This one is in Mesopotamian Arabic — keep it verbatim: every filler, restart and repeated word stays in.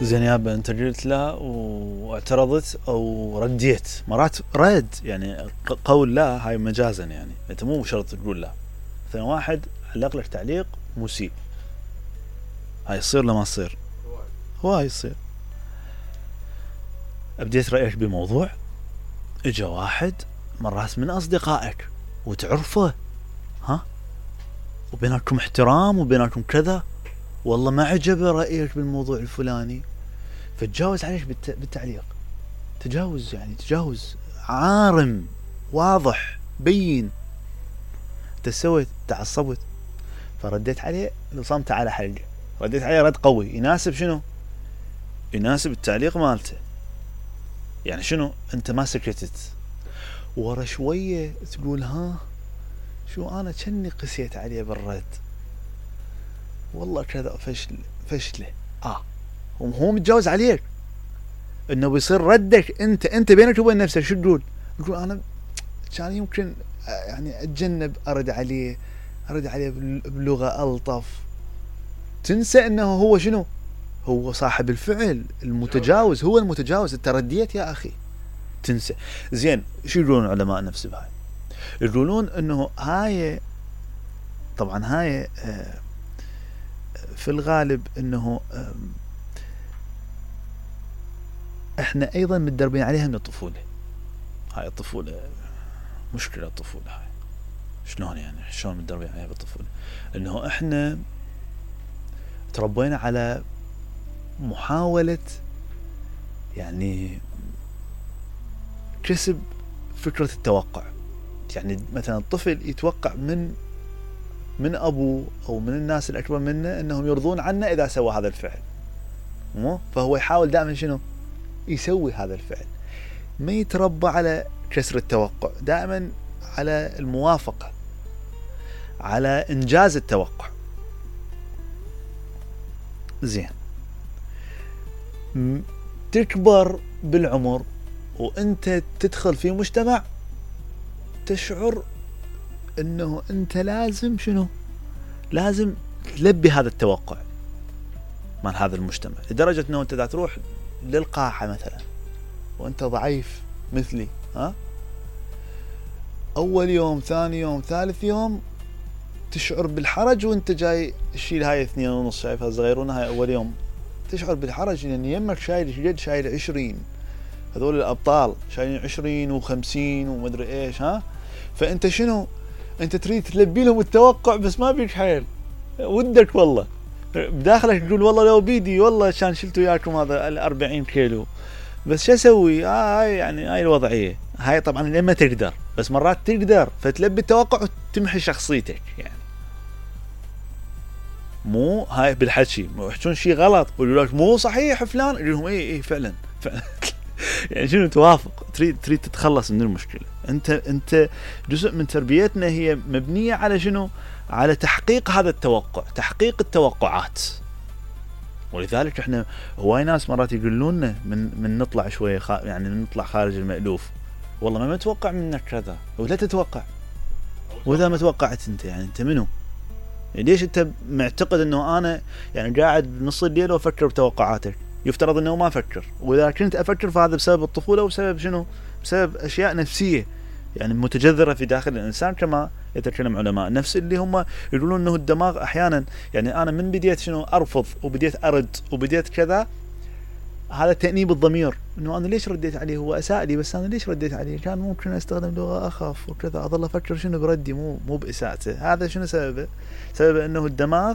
زين يابا انت قلت لا واعترضت او رديت. مرات رد يعني قول لا هاي مجازا، يعني انت مو شرط تقول لا. مثلا واحد علق لك تعليق مسيء، هاي يصير لا ما تصير؟ هواي يصير. ابديت رأيك بموضوع، اجا واحد مرات من اصدقائك وتعرفه، ها، وبينكم احترام وبينكم كذا، والله ما عجبه رأيك بالموضوع الفلاني، فتجاوز عليك بالتعليق. تجاوز يعني تجاوز عارم واضح بين. انت سويت تعصبت فرديت عليه، صمت على حلقه، رديت عليه رد قوي يناسب شنو؟ يناسب التعليق مالته. يعني شنو؟ انت ما سكتت، ورا شويه تقول ها شو انا كني قسيت عليه بالرد، والله كذا فشل فشله. اه هو متجاوز عليك، انه بيصير ردك انت انت بينك وبين نفسك شو تقول؟ تقول انا كان يمكن يعني اتجنب ارد عليه، ارد عليه بلغه الطف. تنسى انه هو شنو؟ هو صاحب الفعل المتجاوز، هو المتجاوز، انت رديت يا اخي. تنسى. زين شو يقولون علماء النفس بهاي؟ يقولون انه هاي طبعا هاي في الغالب انه احنا ايضا متدربين عليها من الطفولة. هاي الطفولة مشكلة، الطفولة هاي شلون يعني شلون متدربين عليها بالطفولة؟ انه احنا تربينا على محاولة يعني كسب فكرة التوقع. يعني مثلا الطفل يتوقع من من ابوه او من الناس الاكبر منه انهم يرضون عنه اذا سوى هذا الفعل، مو فهو يحاول دائما شنو؟ يسوي هذا الفعل. ما يتربى على كسر التوقع، دائما على الموافقة، على انجاز التوقع. زين تكبر بالعمر وانت تدخل في مجتمع تشعر انه انت لازم شنو؟ لازم تلبي هذا التوقع من هذا المجتمع، لدرجة انه انت دا تروح للقاحة مثلا وانت ضعيف مثلي، ها، اول يوم ثاني يوم ثالث يوم تشعر بالحرج وانت جاي تشيل هاي اثنين ونص، شايفها صغيرون، هاي اول يوم تشعر بالحرج لان يمك شايل جد شايل عشرين، هذول الابطال شايلين عشرين وخمسين ومدري ايش، ها، فانت شنو؟ انت تريد تلبي لهم التوقع بس ما بيك حيل، ودك والله بداخلك تقول والله لو بيدي والله كان شلت وياكم هذا الأربعين كيلو، بس شو اسوي؟ آه هاي يعني هاي الوضعيه هاي. طبعا لما تقدر، بس مرات تقدر فتلبي التوقع وتمحي شخصيتك. يعني مو هاي بالحكي يحكون شيء غلط يقولوا لك مو صحيح فلان، يقول لهم اي اي فعلا فعلا يعني شنو؟ توافق، تريد تريد تتخلص من المشكله. انت انت جزء من تربيتنا هي مبنيه على شنو؟ على تحقيق هذا التوقع، تحقيق التوقعات. ولذلك احنا هواي ناس مرات يقولون لنا من من نطلع شويه خ... يعني من نطلع خارج المألوف، والله ما متوقع منك كذا، ولا تتوقع. واذا ما توقعت انت يعني انت منو؟ يعني ليش انت معتقد انه انا يعني قاعد بنص الليل وافكر بتوقعاتك؟ يفترض انه ما افكر، واذا كنت افكر فهذا بسبب الطفوله وبسبب شنو؟ بسبب اشياء نفسيه يعني متجذره في داخل الانسان، كما يتكلم علماء النفس اللي هم يقولون انه الدماغ احيانا يعني انا من بديت شنو ارفض وبديت ارد وبديت كذا، هذا تأنيب الضمير، انه انا ليش رديت عليه؟ هو اساء لي بس انا ليش رديت عليه؟ كان ممكن استخدم لغه اخف وكذا، اظل افكر شنو بردي مو مو باساءته. هذا شنو سببه؟ سببه انه الدماغ